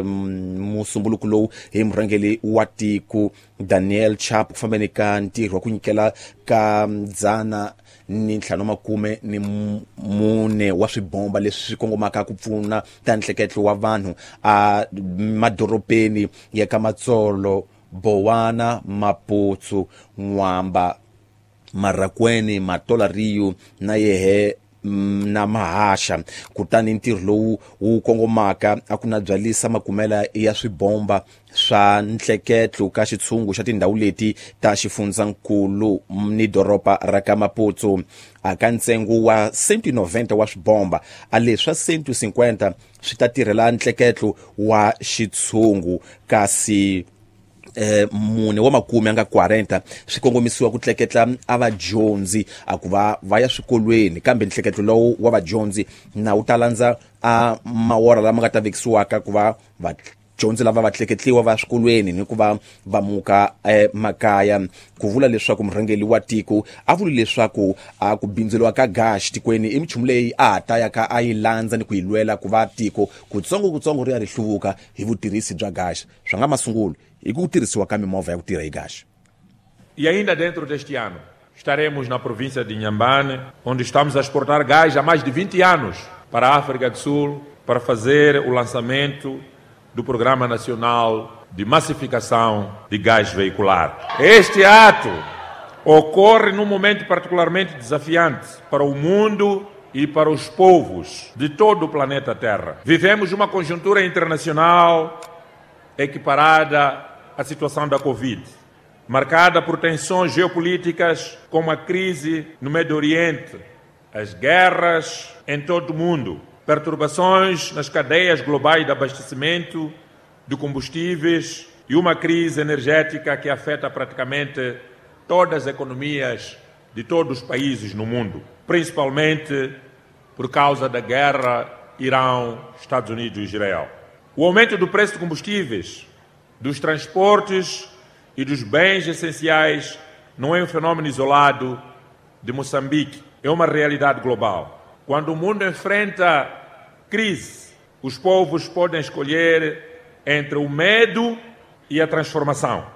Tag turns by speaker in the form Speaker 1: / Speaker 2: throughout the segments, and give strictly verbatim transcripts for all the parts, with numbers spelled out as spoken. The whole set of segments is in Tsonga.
Speaker 1: Musumbuluko lowu hi murhangeri wa tiko Daniel Chapo ku fambeni ka ntirho wa ku nyikela ka dzana ni ntlhanu makume ni mune wa swibomba leswi swi kongomaka ku pfuna ta nhleketlo wa vanhu a madorobeni ya ka Matsolo, Bowana, Maputsu, N'wamba, Marracuene, Matola Rio na yehe na Mahasha. Kutani ntirho lowu wu kongomaka a ku na byalisa makumela ya swibomba swa nhleketlo ka xitshungu xa tindhawu leti ta xifundzankulu ni doroba ra ka Maputo. A ka ntsengo wa cento e noventa wa swibomba, a leswa cento e cinquenta swi ta tirhela nhleketlo wa xitshungu, kasi eh mune wa makume anga quarenta swi kongomisiwa ku tleketla a vadyondzi a ku va va ya swikolweni, kambe nhleketlo lowu wa vadyondzi na wu ta landza a mawora lama nga ta vekisiwaka ku va vadyondzi lava va tleketliwa va swikolweni ni ku va va muka emakaya. Ku vula leswaku murhangeri wa tiko a vuli leswaku a ku bindzuriwa ka gas tikweni i minchumu leyi a ha ta ya ka a yi landza ni ku yi lwela ku va tiko kutsongo kutsongo ri ya ri hluvuka hi vutirhisi bya gas. Swa nga masungulo hi ku tirhisiwa ka mimovha ya ku tirha hi gas.
Speaker 2: E ainda dentro deste ano estaremos na província de Inhambane, onde estamos a exportar gás há mais de vinte anos para a África do Sul, para fazer o lançamento do Programa Nacional de Massificação de Gás Veicular. Este ato ocorre num momento particularmente desafiante para o mundo e para os povos de todo o planeta Terra. Vivemos uma conjuntura internacional equiparada à situação da Covid, marcada por tensões geopolíticas como a crise no Médio Oriente, as guerras em todo o mundo, perturbações nas cadeias globais de abastecimento de combustíveis e uma crise energética que afeta praticamente todas as economias de todos os países no mundo, principalmente por causa da guerra Irão, Estados Unidos e Israel. O aumento do preço de combustíveis, dos transportes e dos bens essenciais não é um fenômeno isolado de Moçambique, é uma realidade global. Quando o mundo enfrenta crise, os povos podem escolher entre o medo e a transformação.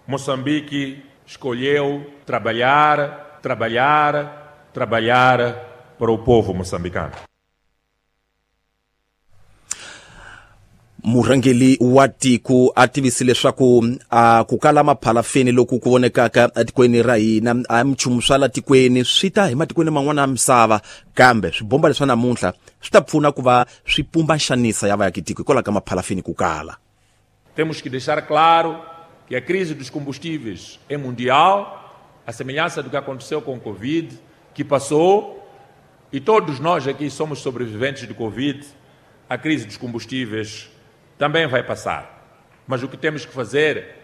Speaker 2: Moçambique escolheu trabalhar, trabalhar, trabalhar para o povo moçambicano.
Speaker 1: Murhangeri wa tiko a tivise leswaku a ku kala maphalafeni loku ku vonekaka etikweni ra hina a minchumu swa la tikweni swi ta hi matikweni man'wana ya misava, kambe swibomba leswa namuntlha swi ta pfuna ku va swi pumba nxanisa ya vaakitiko hikwalaho ka maphalafeni ku kala.
Speaker 2: Temos que deixar claro que a crise dos combustíveis é mundial, a semelhança do que aconteceu com o Covid, que passou, e todos nós aqui somos sobreviventes do Covid. A crise dos combustíveis também vai passar. Mas o que temos que fazer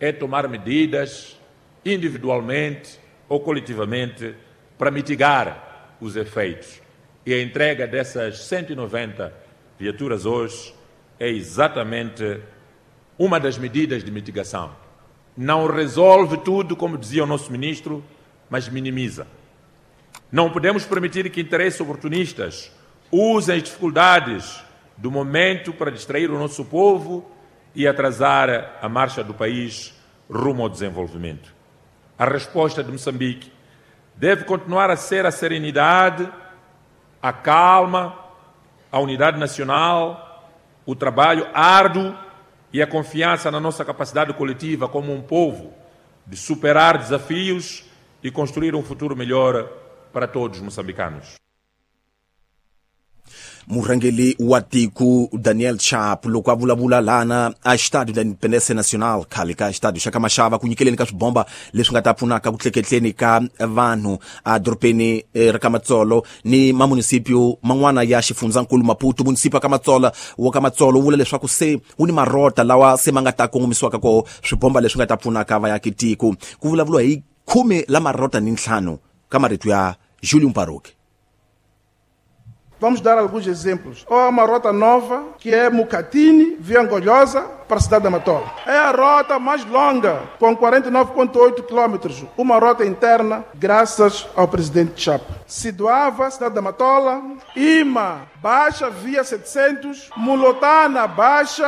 Speaker 2: é tomar medidas individualmente ou coletivamente para mitigar os efeitos. E a entrega dessas cento e noventa viaturas hoje é exatamente uma das medidas de mitigação. Não resolve tudo, como dizia o nosso ministro, mas minimiza. Não podemos permitir que interesses oportunistas usem as dificuldades do momento para distrair o nosso povo e atrasar a marcha do país rumo ao desenvolvimento. A resposta de Moçambique deve continuar a ser a serenidade, a calma, a unidade nacional, o trabalho árduo e a confiança na nossa capacidade coletiva como um povo de superar desafios e construir um futuro melhor para todos os moçambicanos.
Speaker 1: Murhangeri wa tiko Daniel Chapo loko a vulavula lana a Estádio da Independência Nacional khale ka Estádio xa ka Mashava ku nyikeleni ka swibomba leswi nga ta pfunaka ku tleketleni ka vanhu a dorobeni ra ka Matsolo ni mamunisipio man'wana ya xifundzankulu Maputo. Munisipa ka Matsolo wa ka Matsolo wu vula leswaku se wu ni marota lawa se ma nga ta kongomisiwaka koho swibomba leswi nga ta pfunaka vaakitiko. Ku vulavuriwa hi khume la marota ni ntlhanu ka marito ya Julius Mparuki.
Speaker 3: Vamos dar alguns exemplos. Há uma rota nova que é Mucatine, via Angolhosa, para a cidade da Matola. É a rota mais longa, com quarenta e nove vírgula oito quilômetros, uma rota interna, graças ao presidente Chapo. Sidoava, cidade da Matola, Ima, Baixa, via setecentos, Mulotana, Baixa,